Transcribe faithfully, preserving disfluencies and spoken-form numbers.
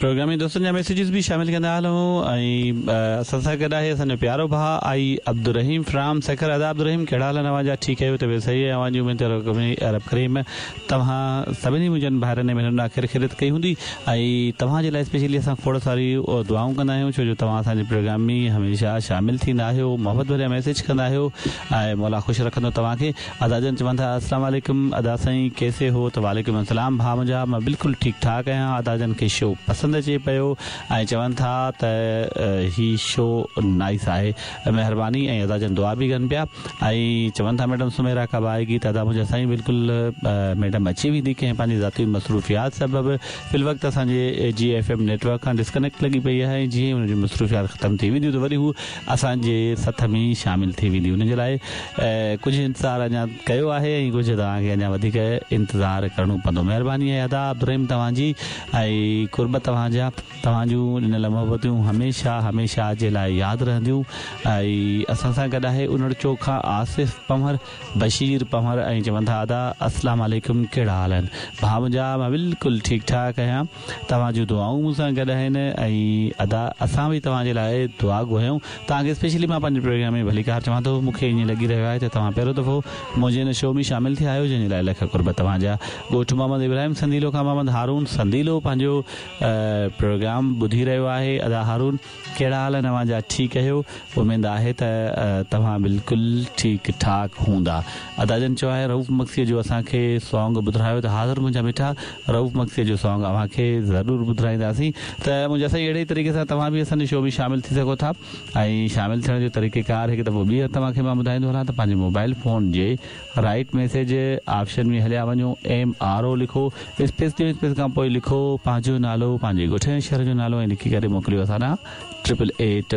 Programme ۾ دوستن جا messages به شامل ڪندا هلون ۽ اسان سان گڏ آهي اسان جو پيارو ڀاء آئي عبدالرحيم فرام سکر. ادا عبدالرحيم، ڪهڙا حال آهن اوهان جا؟ ٺيڪ آهيو؟ طبيعت صحيح آهي اوهان جي؟ اميد ته رب ڪريم توهان سڀني منهنجن ڀائرن ۽ ڀينرن آخر خيريت ڪئي هوندي ۽ توهان جي لاء اسپيشلي اسان کوڙ ساري دعائون ڪندا آهيون، ڇو جو توهان اسان جي پروگرام ۾ هميشه شامل ٿيندا آهيو، محبت ڀريا ميسيج ڪندا آهيو ۽ مولا خوش رکندو توهان کي. ادا جن چون ٿا، السلام عليڪم ادا سائين، ڪيسي هو؟ ته وعليڪم السلام ڀاء منهنجا، مان بلڪل ٺيڪ ٺاڪ آهيان. ادا جن کي شو پسند اچي پيو ۽ چون ٿا ته هي شو نائس آهي. مهرباني. ۽ ادا جن دعا به ڪن پيا ۽ چون ٿا، ميڊم سميرا ڪب آئيگي؟ ته ادا منهنجا سائين، بلڪل ميڊم اچي ويندي. ڪنهن پنهنجي ذاتي مصروفيات سبب في الوقت اسان جي جي ايف ايم نيٽ ورڪ کان ڊسڪنيڪٽ لڳي پئي آهي ۽ جيئن هن جون مصروفيات ختم ٿي وينديون ته وري هو اسان جي سٿ ۾ شامل ٿي ويندي. هن جي لاء ڪجهه انتظار اڃا ڪيو آهي ۽ ڪجهه توهان کي اڃا وڌيڪ انتظار ڪرڻو پوندو. مهرباني آهي ادا عبدالرحيم توهان جي ۽ قرب توهان جا. توهان جون ڏنل محبتون هميشه هميشه جي لاءِ ياد رهنديون. ۽ اسان سان گڏ آهي انڙ چوڪ کان آصف پنهور، بشير پنهور ۽ چون ٿا، ادا السلام عليڪم، ڪهڙا حال آهن ڀاء منهنجا؟ مان بلڪل ٺيڪ ٺاڪ آهيان، توهان جون دعائون مون سان گڏ آهن ۽ ادا اسان به توهان جي لاءِ دعا گو آهيون. توهان کي اسپيشلي مان پنهنجي پروگرام ۾ ڀليڪار چوان ٿو. مون کي ائين لڳي رهيو آهي ته توهان پهريون دفعو منهنجي هن شو ۾ شامل ٿيا آهيو، جنهن جي لاءِ لک قرب توهان جا. ڳوٺ محمد ابراهيم سنديلو کان محمد هارون سنديلو پنهنجو پروگرام ٻڌي رهيو آهي. ادا هارون، ڪهڙا حال آهن اوهان جا؟ ٺيڪ آهيو؟ اميد آهي ته توهان بلڪل ٺيڪ ٺاڪ هوندا. ادا جن چيو آهي، رئوف مگسيءَ جو اسان کي سانگ ٻڌايو. ته حاضر منهنجا مٺا، رئوف مگسيءَ جو سانگ اوهان کي ضرور ٻڌائينداسين. ته منهنجا سائين، اهڙي ئي طريقي سان توهان به اسان جي شو ۾ شامل ٿي سگهو ٿا ۽ شامل ٿيڻ جو طريقيڪار هڪ دفعو ٻيهر توهان کي مان ٻڌائيندو هلان ته پنهنجي موبائل فون جي رائيٽ ميسيج آپشن ۾ هليا وڃو، ايم آر او لکو، اسپيس ڏيو، اسپيس کان پوءِ لکو پنهنجو نالو، پنهنجي ڳوٺ ۽ شهر جو نالو ۽ لکي ڪري موڪليو اسان ڏانهن ٽرپل ايٽ